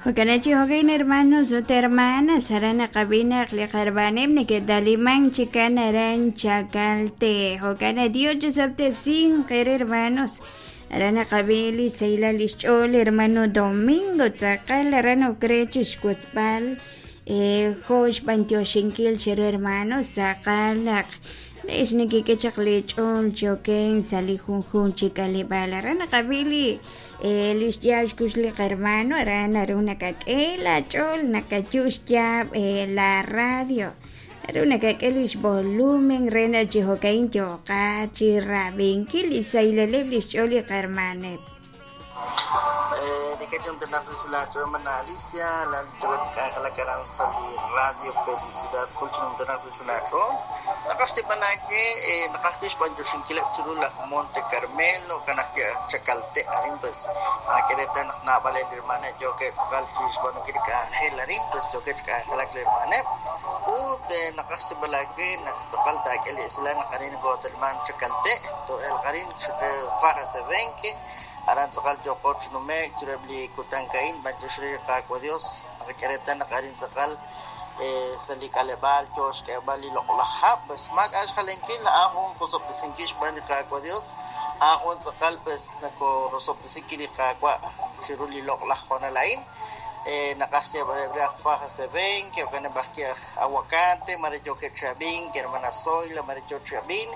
Jo'kan chi jo'kan hermanos ut hermanas aran naqab'i naq li qarbaneb' neke'taliman chikan aran Chakalte. Jo'kan Dios chisob'tesinq eere hermanos. Aran naqab'i li sahilal lix ch'ool hermano Domingo tz'aqal aran ok re chixwotzb'al jo' xb'antioxinkil cheru hermanos tz'aqal naq le'x nekek'e chaq lee ch'ool chi okenk sa' li junjunq chi k'aleb'aal. Aran naqab'i li Li xyaab' xkux li qahermano aran naru nakak'e laach'ool nakayu' xyaab' la radio naru nakak'e li xvolumen re naq chi jo'ka'in yooqat chi rab'inkil li sahilaleb' li xch'ool li qahermaneb'. Hermana Alicia, la k'anjelak aran sa' li Radio Felicidad kulchinumtanak sa' silach'ool naqaj xtib'anake naqaj wi' xb'antioxinkileb' chiru laj Monte Carmelo kanaj Chakalte arin pues nak'e reetal naq naab'al li hermaneb' yookeb' tz'aqal chi xb'aanunkil li k'anjel arin pues yookeb' chi k'anjelak li hermaneb' ut naqaj xtib'alake naq tz'aqal taak'e li esilal naq arin kootelman Chakalte to'elq arin Faja Sebenque aran tz'aqal yooqo chi nume'k chiruheb' li kutan ka'in b'antiox re Qaawa' Dios naqak'e reetal naq arin tz'aqal sa' li k'aleb'aal yoo xk'eeb'al li loq'laj hab' pues maak'a' xjalenkil a'an jun qosob'tesinkil xb'aan li Qaawa' Dios a'an jun tz'aqal pues nakorosob'tesinkil li Qaawa' chiru li loq'laj hoonal a'in naqaj xyeeb'aleb' re aj Faja Sebenque jo'kaneb' ajwi' aj Aguacate mare yookeb' chi ab'ink hermana Zoila mare yoo chi ab'ink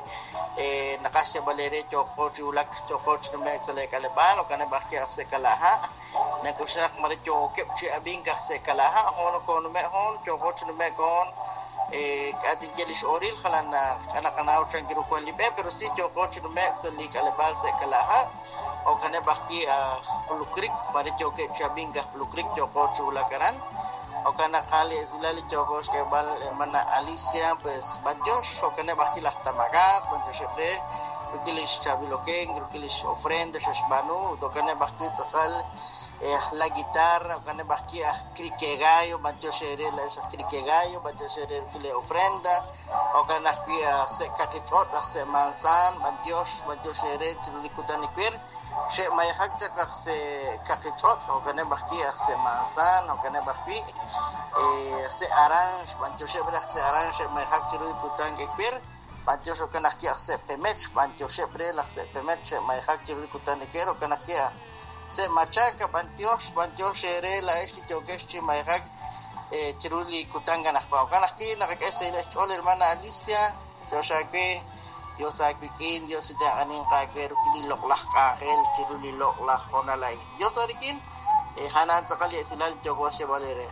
naqaj xyeeb'al eere yooqo chi wulak yooqo chi nume'k sa' li k'aleb'aal jo'kaneb' ajwi' aj Sekalaha' nak'oxlak mare yookeb' chi ab'ink aj Sekalaha' hoon nokonume' hoon yooqo chi nume'k hoon k'a' tinye li x'oril jalan k'a naqanaw chan ru wan li b'e pero si yooqo chi nume'k sa' li k'aleb'aal Sekalaha' jo'kaneb' ajwi' aj Blue Creek mare yookeb' chi ab'ink aj Blue Creek yooqo chi wulak aran jo'kan naq li esilal li yooqo xk'eeb'al hermana Alicia pues b'antiox jo'kaneb' ajwi' laj Tamagas b'antioxeb' re rik'in li xchaab'iloken rik'in li xofrenda xe'xb'aanu ut jo'kaneb' ajwi' tz'aqal la guitarra jo'kaneb' ajwi' aj Crique Gallo b'antiox eere laa'ex aj Crique Gallo b'antiox eere rik'in li ofrenda jo'kan ajwi' aj se' Kaqich'och' aj se' Manzan b'antiox b'antiox eere chiru li kutan iwir xe'mayejak chaq aj se' Kaqich'och' jo'kaneb' ajwi' aj se' Manzan jo'kaneb' ajwi' se' Aranx b'antioxeb' re aj se' Aranx xe'mayejak chiru li kutan iwir b'antiox jo'kan ajwi' aj se' Pemech b'antioxeb' re laj se' Pemech xe'mayejak chiru li kutan iwir jo'kan ajwi' aj se' Machaca b'antiox b'antiox eere laa'ex li yookex chi mayejak chiru li kutan anaqwan jo'kan ajwi' naqak'e xsahil xch'ool hermana Alicia Dios aawe Dios aawik'in Dios chitenq'aninq aawe rik'in li loq'laj k'anjel chiru li loq'laj hoonal a'in Dios aarik'in hanan tz'aqal li esilal yooko xyeeb'al eere.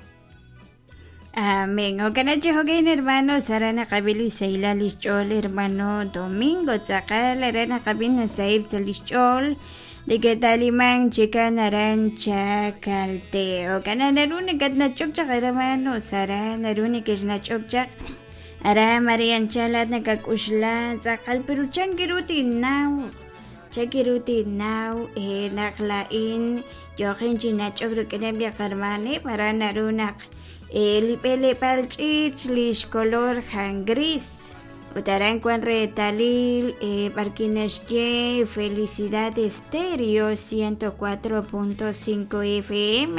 Amén. Jo'kan chi jo'kan hermanos aran naqab'i li sahilal li xch'ool hermano Domingo tz'aqal aran naqab'i nasahib' sa' li xch'ool neke'taliman chikan aran Chakalte. Jo'kan naru nakatnach'ok chaq hermanos aran naru nekexnach'ok chaq aran Maria Anchalat nakak'uxla tz'aqal pero chanki ru tinnaw chanki ru tinnaw naq laa'in yooqin chi nach'ok rik'ineb' li qarmaneb' aran naru naq li b'eleb'aal ch'iich li xkolor jan gris ut aran wan reetalil b'arkin naxye Felicidad Estéreo 104.5 FM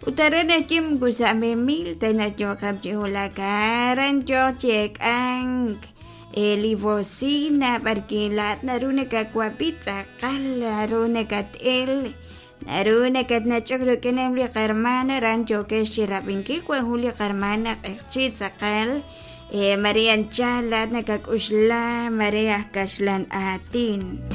ut aran naxye moko sa' memil ta naq yooqeb' chi wulak aran yooq chi eek'ank li bocina b'arkin laa'at naru nakawab'i tz'aqal naru nakat'el naru nakatnach'ok rik'ineb' li qarman aran yookex chi rab'inkil wan jun li qarman q'eqchi' tz'aqal Maria Anchal laa'at nakak'uxla mare aj kaxlan aatin.